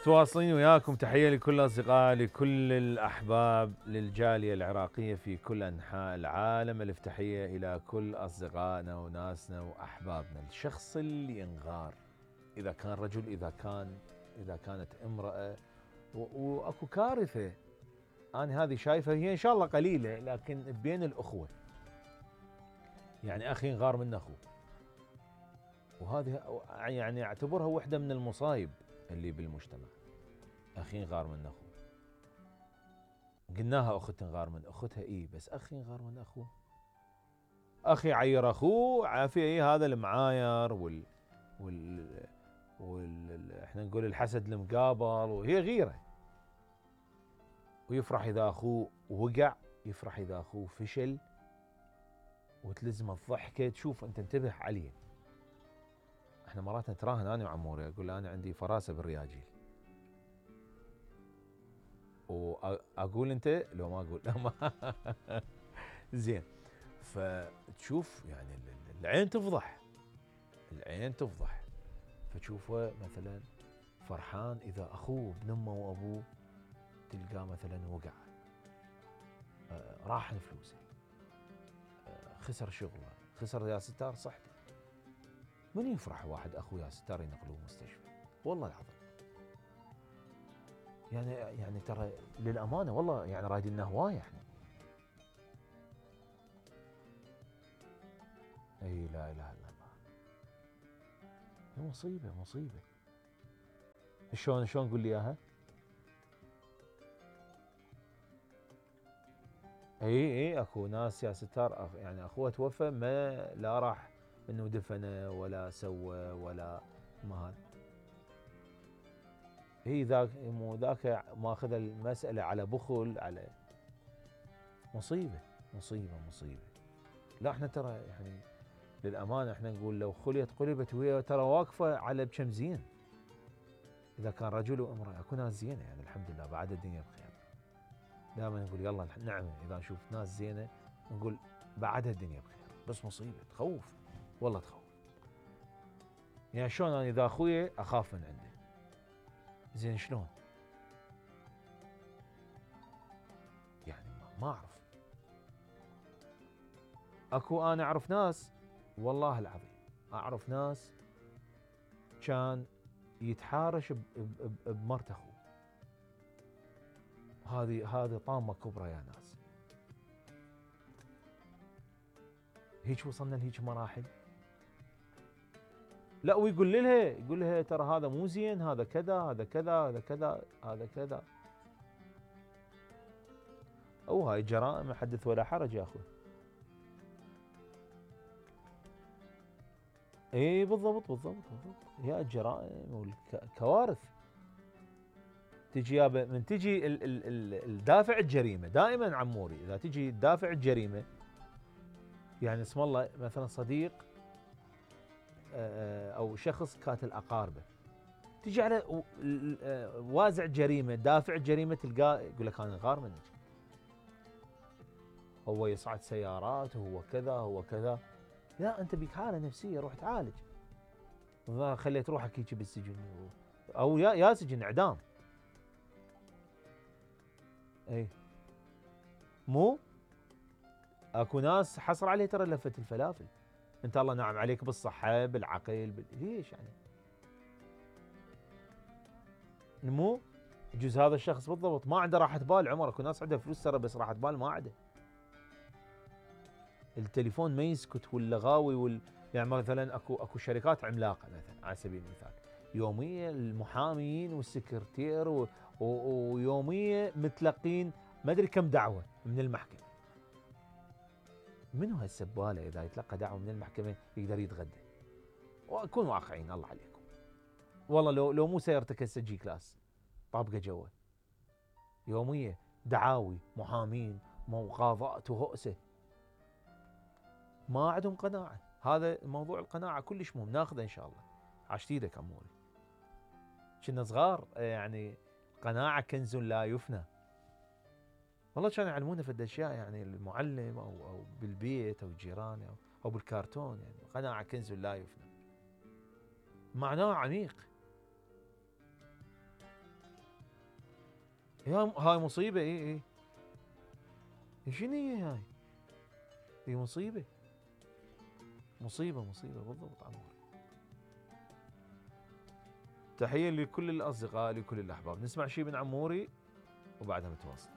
متواصلين وياكم. تحية لكل الأصدقاء، لكل الأحباب، للجالية العراقية في كل أنحاء العالم. ألف تحية إلى كل أصدقائنا وناسنا وأحبابنا. الشخص اللي ينغار، إذا كان رجل، إذا كانت امرأة، وأكو كارثة أنا هذه شايفها، هي إن شاء الله قليلة لكن بين الأخوة. يعني أخي ينغار من أخوه، وهذه يعني أعتبرها واحدة من المصايب اللي بالمجتمع. أخي ينغار من أخوه، قلناها أخت تنغار من أختها، بس أخي ينغار من أخوه. أخي عير أخوه عافية، هذا المعاير احنا نقول الحسد المقابل، وهي غيرة. ويفرح إذا أخوه وقع، يفرح إذا أخوه فشل، وتلزم الضحكة. تشوف أنت انتبه عليه. احنا مرات نتراهن أنا وعموري، أقول له أنا عندي فراسة بالرياجيل، واقول انت لو ما اقول لا ما زين. فتشوف يعني العين تفضح، فتشوفه مثلا فرحان اذا اخوه ابن امه وابوه تلقاه مثلا وقع، راح فلوسه، خسر شغله، خسر يا ستار صحته. من يفرح واحد اخوه يا ستار ينقلوه مستشفى؟ والله العظيم يعني ترى للامانه والله يعني رايدين لنا هوايه احنا. اي لا اله الا الله. مصيبه. شلون قول لي اياها؟ اي اكو ناس يا ستار يعني اخوه توفى، ما لا راح انه دفنه ولا سوى ولا ما هذا. ذاك ماخذ المساله على بخل، على مصيبه. لا احنا ترى يعني للامانه احنا نقول لو خليت قلبت، وهي ترى واقفه على بكم زين. اذا كان رجل وامراه اكو ناس زينه يعني الحمد لله، بعد الدنيا بخير. دائما نقول يلا نعمه، اذا نشوف ناس زينه نقول بعدها الدنيا بخير. بس مصيبه تخوف، والله تخوف. يعني شلون انا اذا اخوي اخاف من عنده، زين شلون؟ يعني ما اعرف. اكو انا اعرف ناس، والله العظيم اعرف ناس كان يتحارش بمرت اخوه. هذه طامه كبرى يا ناس. هيك وصلنا لهيك مراحل. لا ويقول لها ترى هذا مو زين، هذا كذا، هذا كذا، هذا كذا، هذا كذا. او هاي جرائم حدث ولا حرج يا اخوي. اي بالضبط. هي الجرائم والكوارث تجي من تجي الدافع الجريمه. دائما عموري اذا تجي دافع الجريمه، يعني اسم الله مثلا صديق او شخص قاتل اقاربه، تجي على وازع جريمه، دافع الجريمه، تلقاه يقول لك انا غار منك، هو يصعد سيارات، هو كذا هو كذا. لا انت بيك حاله نفسيه، روح تعالج. خليت روحك هيك بالسجن، او يا سجن اعدام. اي مو اكو ناس حصر عليه ترى لفه الفلافل. انت الله نعم عليك بالصحه بالعقل ليش يعني؟ مو يجوز هذا الشخص بالضبط ما عنده راحه بال. عمر اكو ناس عندها فلوس ترى بس راحه بال ما عنده. التليفون ما يسكت ولا غاوي يعني مثلا اكو شركات عملاقه مثلا على سبيل المثال، يوميا المحامين والسكرتير ويوميا متلقين ما ادري كم دعوه من المحكمه. منو هالسباله اذا يتلقى دعوه من المحكمه يقدر يتغدى؟ وكون واقعيين الله عليكم. والله لو مو سيارتك هسه جي كلاس طابقه جوا، يوميا دعاوي محامين مقاضات وهؤسه، ما عندهم قناعه. هذا موضوع القناعه كلش مهم، ناخذه ان شاء الله. عاشت ايدك عموري. كنا صغار يعني قناعه كنز لا يفنى. والله كانوا يعلمونا في الاشياء، يعني المعلم او بالبيت او الجيران او بالكرتون، يعني قناعه كنز لا يفنى. معناه عميق. هاي مصيبة. اي شنو هي هاي؟ هي مصيبة بالضبط عموري. تحية لكل الأصدقاء لكل الأحباب. نسمع شي من عموري وبعدها نتواصل.